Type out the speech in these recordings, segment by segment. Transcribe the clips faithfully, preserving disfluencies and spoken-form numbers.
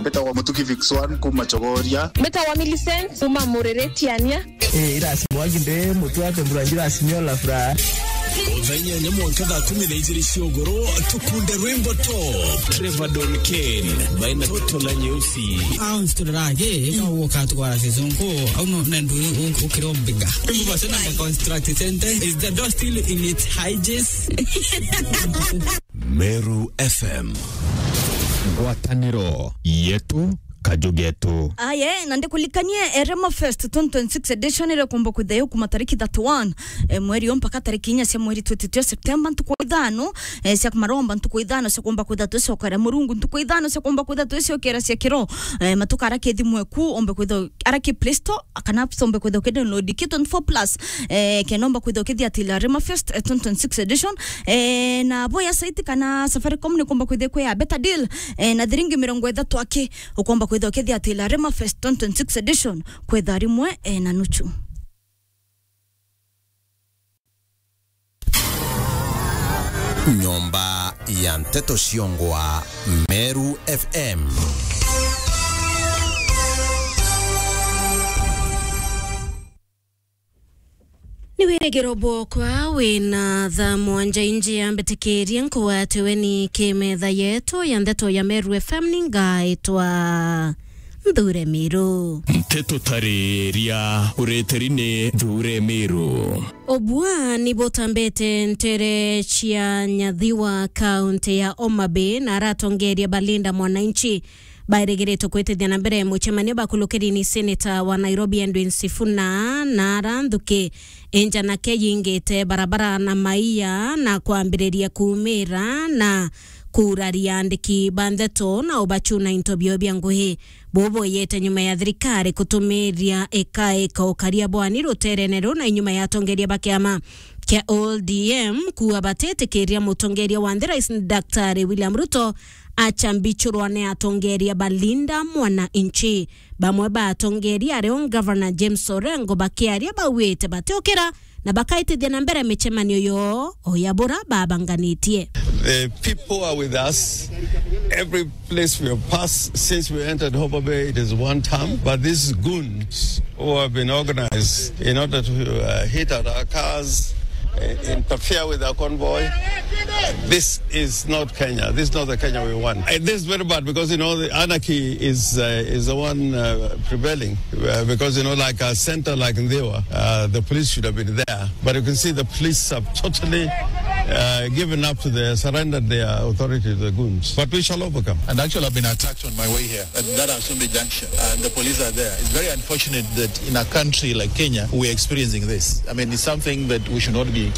Mbitagwa Mutuki Vix One kuma Chogoria. Mbitagwa Millicent kuma Mureretiania. Eh, irasi mwagi nde mutwe ate mbura njira sinyola furaha. Thaa inyanya mwanka thaa kumi na ijiri cia ugoro, tukunde rwimbo top. Trevor Don Kane, baina toto la nyeusi. Au nsiturage, ika uka twara season ko, au no, nendu u-, u-, ukiro mbiga. Rwimbo basi na construct center, is the door still in its hinges? Meru F M. Ngwataniro yetu, kaju getu. Aye, na ndikulikanie, eh, Rema Fest twenty twenty-six edition iria kumba kwithia yo kuma tariki thirty-one, eh, mweri yo mpaka tariki inya cia mweri twititio September, ntuku ithano, eh, cia maromba, ntuku ithano cia kumba kwithia twicokera Murungu, ntuku ithano cia kumba kwithia twicokera cia kiro, eh, matuka ara kithimwe ku, ombe kwithia ara ki Play Store, kana sombe kwithia ukidownload ki twenty-four plus, eh, kenomba kwithia ukithiatila Rema Fest, eh, twenty twenty-six edition, eh, na boya site kana Safaricom ni kumba kwithia kwi a better deal, eh, na thiringi mirongo ithatu aki, ukomba kwithia ukithiatila Rema Fest twenty twenty-six edition, kwetha rimwe, eh, na nuchu. Nyomba ya Nteto Ciongwa, Meru F M. Ni wirigiro bwokwa wina thaa mwanja inji ya mbitikirie nkugwatiwe ni kimetha yetu ya ndeto ya Meru F M, ni ngaitwa Nthure Miru. Nteto tariria ureteri ni Nthure Miru. Obua ni butambite ntere cia Nyathiwa, kaunti ya Homa Bay, na aratongeria Balinda Mwananchi bairigiritwe kwitithia na mbere mucemanio bakulukiri ni seneta wa Nairobi Edwin Sifuna na ara nthuki injanake yingite barabara na maia na kwambiriria kuumira na kuuraria andiki ba ndeto na ubachuna into bio bia ngugi. Bubu yete nyuma ya thirikari kutumiria ikaika ukaria bwani ruterene ru na inyuma ya atongeria ba kiama kia O D M kuuga batitikiria mutongeria wa nthi Rais Daktari William Ruto acambichurwa ni atongeria Balinda Mwananchi. Bamwe ba atongeria ario Governor James Orengo bakiaria bauite batiukira na bakaitithia na mbere micemanio yo o ya bura babanganitie. The people are with us. Every place we have passed since we entered Homa Bay, it is one term. But these goons who have been organized in order to, uh, hit at our cars, uh, interfere with our convoy, this is not Kenya. This is not the Kenya we want. And this is very bad because, you know, the anarchy is, uh, is the one, uh, prevailing. Uh, because, you know, like a center like Ndhiwa, uh, the police should have been there. But you can see the police have totally, uh, given up to the, surrendered their authority to the goons. But we shall overcome. And actually, I've been attacked on my way here at that Asumbi junction, and the police are there. It's very unfortunate that in a country like Kenya, we're experiencing this. I mean, it's something that we should not be,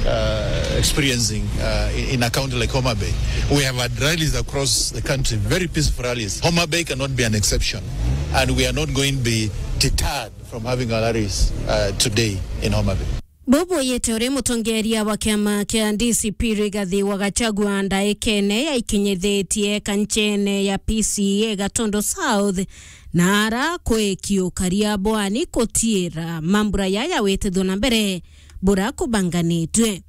uh, experiencing, uh, in, in a county like Homa Bay. We have had rallies across the country, very peaceful rallies. Homa Bay cannot be an exception, and we are not going to be deterred from having our rallies, uh, today in Homa Bay. Bubu yete uri mutongeria wa kiama kia D C P Rigathi wa Gachagua ndaikene yaikinyithitie kanchene ya P C A Gatundu South, na ara kwiki ukaria bwani kutiira mambura yaya witithwa na mbere bura kubanganitwe.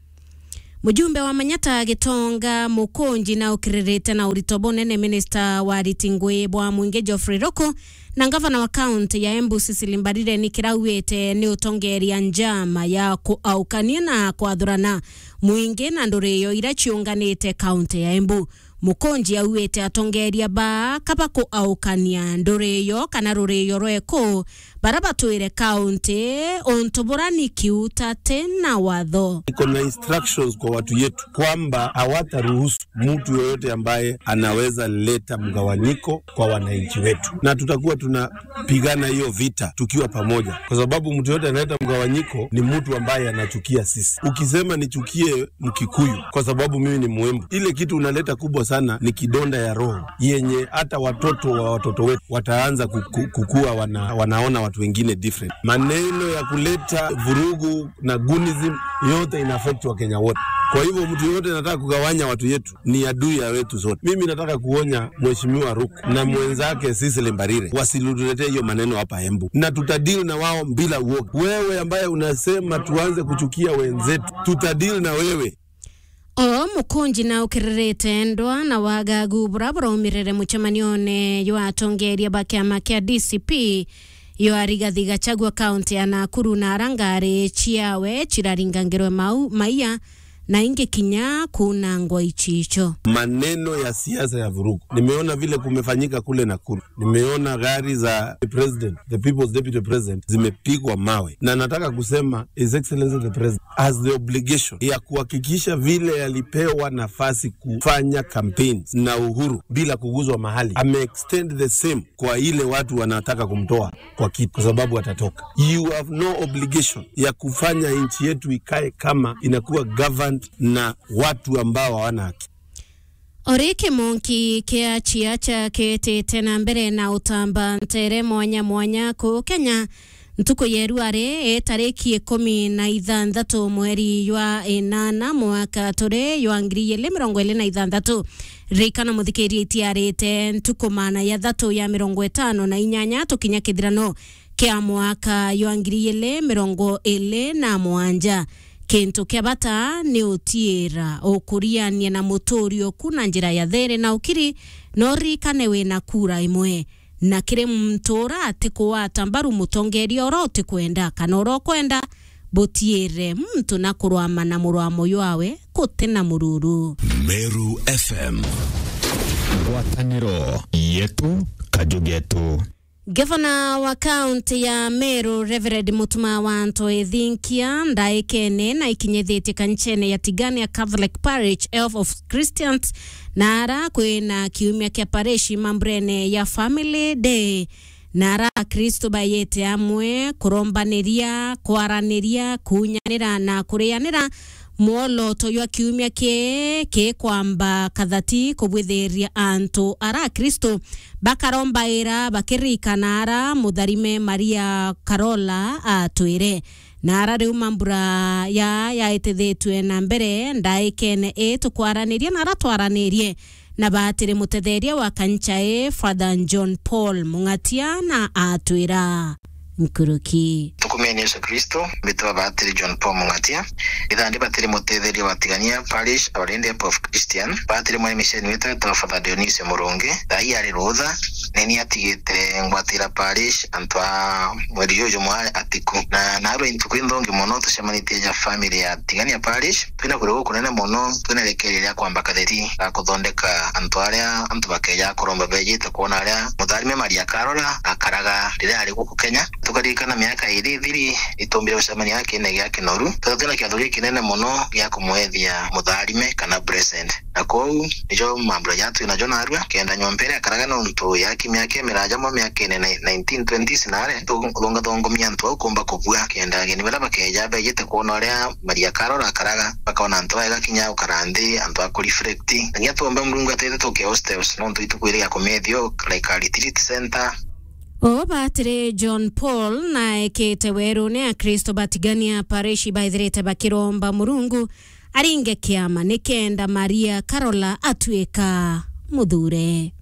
Mujumbe wa Manyata Gitonga Mukunji na ukiririte na urito bunene minista wa riti ngui bwa mwingi Geoffrey Ruku na ngavana wa kaunti ya Embu Cecily Mbarire ni kirauite ni utongeria njama ya kuaukania na kwathurana mwingi na nduriyo ira ciunganite kaunti ya Embu. Mukunji auite atongeria baa kaba kuaukania nduriyo kana ruriyo rweku bara batwire kaunti untu bura ni kiutate na watho. Iko na instructions kwa watu yetu kwamba hawataruhusu mtu yoyote ambaye anaweza leta mgawanyiko kwa wananchi wetu, na tutakuwa tunapigana hiyo vita tukiwa pamoja, kwa sababu mtu yoyote analeta mgawanyiko ni mtu ambaye anachukia sisi. Ukisema nichukie Mkikuyu kwa sababu mimi ni Mwembu, ile kitu unaleta kubwa sana ni kidonda ya roho yenye hata watoto wa watoto wetu wataanza kuku-, kukua wana-, wanaona watu wengine different. Maneno ya kuleta vurugu na goonism yote ina affect Wakenya wote. Kwa hivyo mtu yoyote anataka kugawanya watu yetu ni adui ya wetu sote. Mimi nataka kuonya Mheshimiwa Ruku na mwenzake Cecily Mbarire wasituletee hiyo maneno hapa Embu, na tutadeal na wao bila uoga. Wewe ambaye unasema tuanze kuchukia wenzetu, tutadeal na wewe. O Mukunji na ukiririte ndwa na wagagu bura buraumirire mucemanione jwa atongeria ba kiama kia D C P yo Rigathi Gachagua kaunti ya Nakuru, na ara ngari ciawe ciraringangirwe mau, maia na ingi kinya kunangwa icicio. Maneno ya siasa ya vurugu. Nimeona vile kumefanyika kule Nakuru. Nimeona gari za the president, the people's deputy president, zimepigwa mawe. Na nataka kusema, His Excellency the President has the obligation ya kuhakikisha vile alipewa nafasi kufanya campaigns na uhuru bila kuguzwa mahali, ame extend the same kwa ile watu wanataka kumtoa kwa kiti, kwa sababu atatoka. You have no obligation ya kufanya nchi yetu ikae kama inakuwa governed na watu ambao hawana haki. Ori kimonki kia ciaca kitite na mbere na utamba ntere mwanya mwanya ku Kenya. Ntuku yeru ari, e tariki ikumi na ithanthatu mweri jwa inana mwaka turi jwa ngiri igiri mirongo iri na ithanthatu. Ririkana muthikiria, itiarite ntuku maana ya thatu ya mirongo itano na inyanya tukinya kithirano kia mwaka jwa ngiri igiri mirongo iri na mwanja. Kintu kia bata ni utiira ukuriania na muturi oku na njira ya thiiri na ukiri, na uririkane wina kura imwe. Na kiri muntu ura atikugwata mbaru mutongeria ura utikwenda kana ura ukwenda, butiire muntu na kurwama na murwamo jwawe guti na mururu. Meru F M. Ngwataniro yetu, kaju getu. Gavana wa kaunti ya Meru, Reverend Mutuma wa Anto Ethinkia, ndaikene na ikinyithitie kanicene ya Tigania Catholic Parish, Health of Christians, na ara kwina kiumia kia parish mamburene ya Family Day. Na ara Akristo bayete amwe kurombaniria, kwaraniria, kunyanira na kurianira mwoloto jwa kiumia ki kikwamba kathati kubwithiria antu ara Akristo bakarombaira bakiririkana ara mutharime Maria Karola atwire. Na ara riu mambura ya yaitithitue na mbere ndaikene ii tukwaraniria na ara twaranirie na batiri mutetheria wa kancha ii, Father John Paul Mung'atia, na atwira nkuruki. Tukumeni Yesu Kristo, mbitwa batiri John Paul Mung'atia. Ithandi batiri mutetheria wa Tigania Parish, our Lady of Christian. Batiri mwene misheni witwa Father Dionisi Murungi. Thai ari rutha, nini atigite ngwatira parish antu a mweri juju mwa atiku. Na narua intuku inthongi mono tucemanitie ja family ya Tigania Parish. Twina kuria gukunene mono, twina irekeria ria kwamba katheti ga kuthondeka antu aria antu bakeja kuromba bejite kwona aria mutharime Maria Karora akaraga riria ari guku Kenya. Tukaririkana miaka iri ithiri, itumbire gucemania na kiine gia kinoru. Twethira twina kiatho gikinene mono gia kumwethia mutharime kana blessed. Na kou, nijo mambura ja twinajo narua, kenda nyomba iria akaraga nontu ya ki miaka imiraja mo miakene na nineteen twenties na are, tu-, thongathongomia antu au kumba kubua, kenda ageni baria bakeja bejite kwona uria Maria Karora akaraga, bakona antu aega kinya ukara nthi, antu a kureflect. Na kinya tuomba Murungu atwite tuke hostels, nontu ituku iri ya kumethia like a retreat center. O batiri John Paul naekite werune Akristo ba Tigania Parish baithirite bakiromba Murungu aringe kiama nikenda Maria Karola atwika muthure.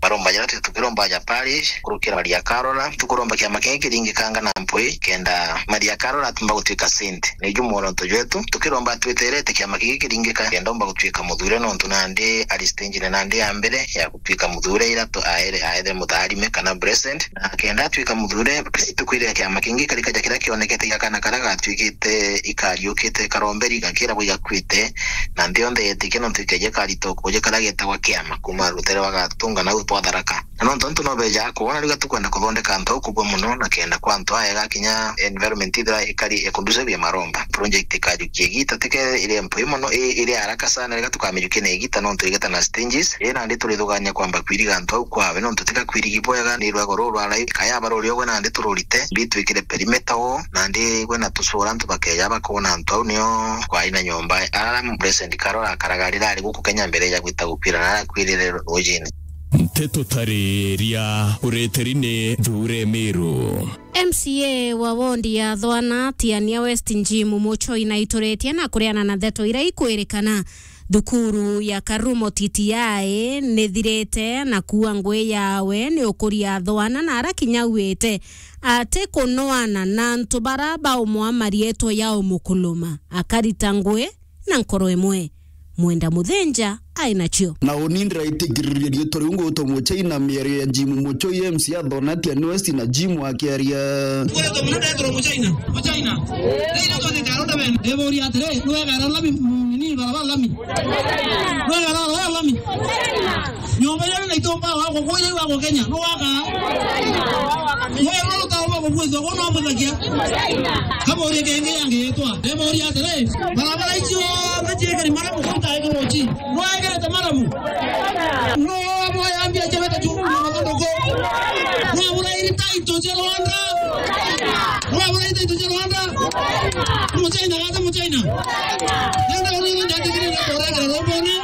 Maromba jaria twi tukiromba ja parish, kurukira Maria Karola, tukuromba kiama kingi kiringikanga na mpwi, kenda Maria Karola atumba gutwika saint. Niju mworoto jwetu, tukiromba twiterete kiama kingi kiringika, kenda umba gutwika muthure, nontu nandi ari stage-ini nandi ya mbere ya gutwika muthure ira tu-, aere, aere mutharime kana blessed. Na kenda atwika muthure, ituku iria kiama kingi karikaja kiria kionekete gia kana karia gatwikite ikariukite karomberi gakiragwa igakuite, na nthi yonthe yetikia nontu ikeje karito kuja karia getagwa kiama kuma rutere rwa Gatunga nau twa Tharaka. Na nontu antu no bejaga kwona riu tukwenda kuthondeka antu au kubua mono na kenda kwa antu aega kinya environment ithira ikari e conducive ya maromba. Project ikajukia igita tike iri mpui mono, i-, iri haraka sana, riga tukamijukia na igita nontu igita na stages. Ii nandi turithugania kwamba kwiriga antu au kwawe, nontu tika kwirigi bwega ni rwego ruu rwa raithi. Kayaba ruri ogwe nandi tururite, mbi twikire perimeter wall, nandi gwe na tucura antu bakeja bakona antu au nio kwai na nyomba. Ara Blessed Carol akaraga rira ari guku Kenya mbere ya gwita gukwira na arakwirire rujini. Nteto tariria ureteri ni Thure Miru. M C A wa wondi ya Thwana, Tiania West, Jim Muchoi, naituretie na kureana na ndeto iria ikwirikana thukuru ya Karumo T T I nithirite na kuua ngui yawe ni ukuria Thwana na ara kinya auite ati kunoana na antu bara baumwa marietwa ya umukuluma akarita ngui na nkoro imwe. Mwenda Muthinja ai nacio. Na uni ndiraitikiria riitwa riu ngwitwa Muchaina, miario ya Jim Muchoi, M C A Thona Tiani West, na Jim akiaria. Kule tumuna ndetwa Muchaina. Muchaina. Rĩrĩa twathikara ũndũ bene. Ndĩbũria atĩrĩ, nĩwegara lami, mm, nini, barabara lami? Nĩwegara barabara lami? Nyũmba iria wĩna itumba wako, kũrĩa wako Kenya, nĩwaka? Wewe ũrutaga wa kũbuithua, wona ũbuthagia? Kama ũrĩa kĩngĩ yangĩtwa. Ndĩbũria atĩrĩ, barabara icio cionthe ciĩkĩri maramu kũruta ĩkĩro ci? Nĩwekĩrĩte maramu? No, abo yambia chebeta tu, na mathandũkũ. Nĩwabura iri taito cia Rwanda. Nĩwabura iri taito cia Rwanda. Muchaina, gata Muchaina. Nenda uri nenda tikiri na korega robone.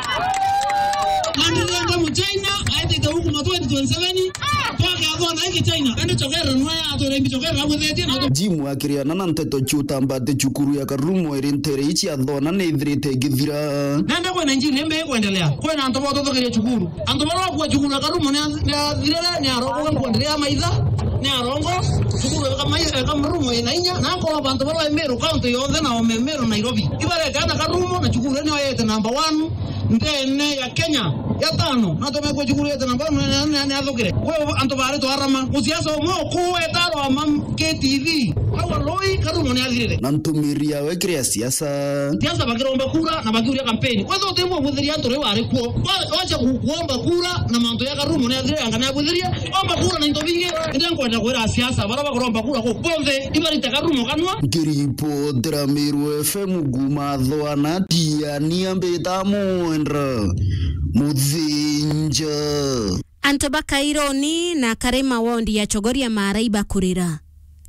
Nandi nenda Muchaina, aitite huku ma twenty twenty-seven. Twake athona iki China. Nende chokera nwa ya atore imbi chokera abuthetie na Jim akiriana na nteto ciutamba ati cukuru ya Karumo iri ntere ici athona ni ithirite igithira. Nende kwena njini imbi ikwendelea. Kwena antu botothokeria cukuru. Antu baria bakua cukuru ya Karumo ni, ni athirire, ni arongo, kuendelea maitha, ni arongo, cukuru ya Kamai-, ya Karumo ina inya, na akorwa bantu baria Meru County yonthe na ome Meru Nairobi. Ibarekana Karumo na cukuru ni oyete number one ndene ya Kenya ya tano. Na tumekua cukuru yete number one ni, ni, ni athukire. Kwe antu bari twarama. Musiasa umwe ukuweta arwama K T V. Awa loi Karumo ni athirire. Na ntumiri yawe kiri ya siasa. Siasa bakiromba kura na bakiuria kampeni. Wetha utimwe buthiria antu riu ari kuo. Wa-, wacha ku-, kuomba kura na mantu ya Karumo ni athire anga ni abuthirie. Omba kura na into bingi. Indi nkwenda kwira siasa, bara bakuromba kura ku bonthe, ibarite Karumo kanwa. Nkiripotera Meru F M kuma Thwana, Tiani ambita Mwendra Muthinja. Antu ba Kaironi na Karima wondi ya Chogoria Maara ibakurira.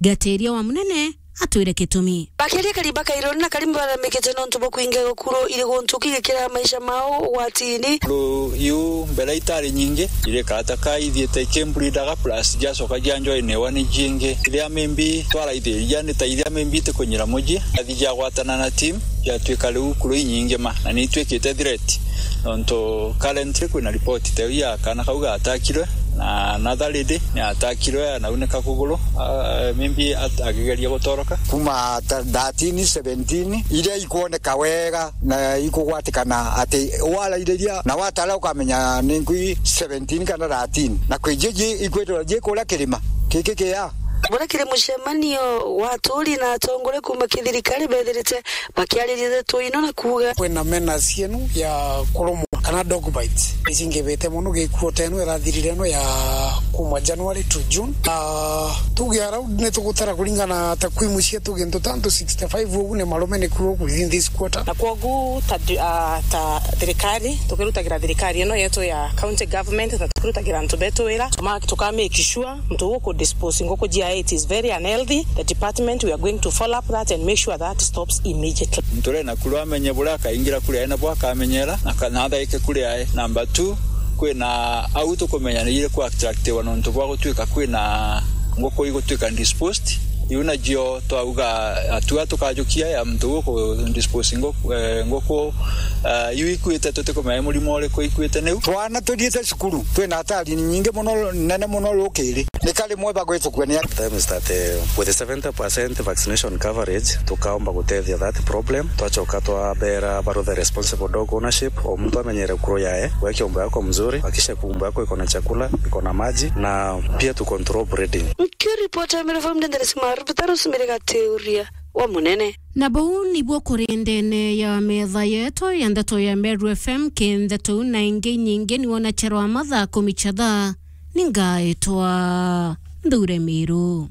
Gatiria wa Munene atwire gitumi. Bakiaria Kariba Kaironi na Karima baramikite nontu bwa kwinga igukuru iri guntu kigikira maisha mao ugwatini. Ru iu mbere itari nyingi, irikata ka ithiite ikimburidaga plus jacoka janjoinewa ni jingi. Iria mimbi twaraithiria ni ta iria mimbi itikunyira muji. Athi jagwatana na team, jatwika riu kuru inyingi ma, na ni itwikite threat. Nontu currently kwina report teu ya kana kau gatakirwe, na another lady ni atakirwe, anaunika kuguru, ah, maybe at-, akigeria gutoroka. Kuma ta thirteen, seventeen, iria ikwoneka wega na ikugwatikana ati warairiria na watara ukamenya ni nkui seventeen kana thirteen. Na kwi jiji ikwitwa ji kuria kirima. Kiki kia. Buria kiri mucemanio wa aturi na atongoria kuma kithirikari bethirite bakiariria ndeto ino na kuuga. Kwina menace ino ya kurumwa kana dog bite. Icingivite mono gikuo ta ino irathirire ino ya kuma January to June. Ah, tuge around ni tugutara kuringana na takwimu cietu gintu tantu sixty-five ugu ni marume ni kuo within this quarter. Na kwogu ta, ah, ta thirikari, tukirutagira thirikari ino yetu ya county government, na tukirutagira antu betu wira, tuma-, tuka make sure muntu ugu ku dispose nguku ciae, it is very unhealthy. The department, we are going to follow up that and make sure that stops immediately. Muntu uria naku rwamenye buria akaingira kuria ae, nabo akamenyera, na kana athaike kuria ae. Number two, kwina au tukumenya ni iri ku attractiwa nontu bwa gutwika kwina nguku igutwika disposed. Iu najio twauga atua tukajukia ya muntu ugu ku dispose nguku, eh, nguku, eh, iu ikuite, tutikumenya murimo uriku ikuite niu. Twana tuthiite cukuru, twina hatari nyingi mono, nene mono rukiri. Ni kari mwe bagwitukua ni a- Time is that, eh, with the seventy percent vaccination coverage, tukaomba gutethia that problem. Twachoka twabera baruthe responsible dog ownership, o muntu amenyere kuru yae, weke umbo yako mzuri, hakikisha umbo yako iko na chakula, iko na maji, na pia tu control breeding. Nkiripota Meru F M, Dennis Maru, Peter Rosemary Gatiuria wa Munene. Na buu nibuo kuri ndene ya metha yetu ya ndeto ya Meru F M, ki ndeto na ingi nyingi ni wona cherwa mathaa kumi cha thaa, ni ngaitwa Nthure Miru.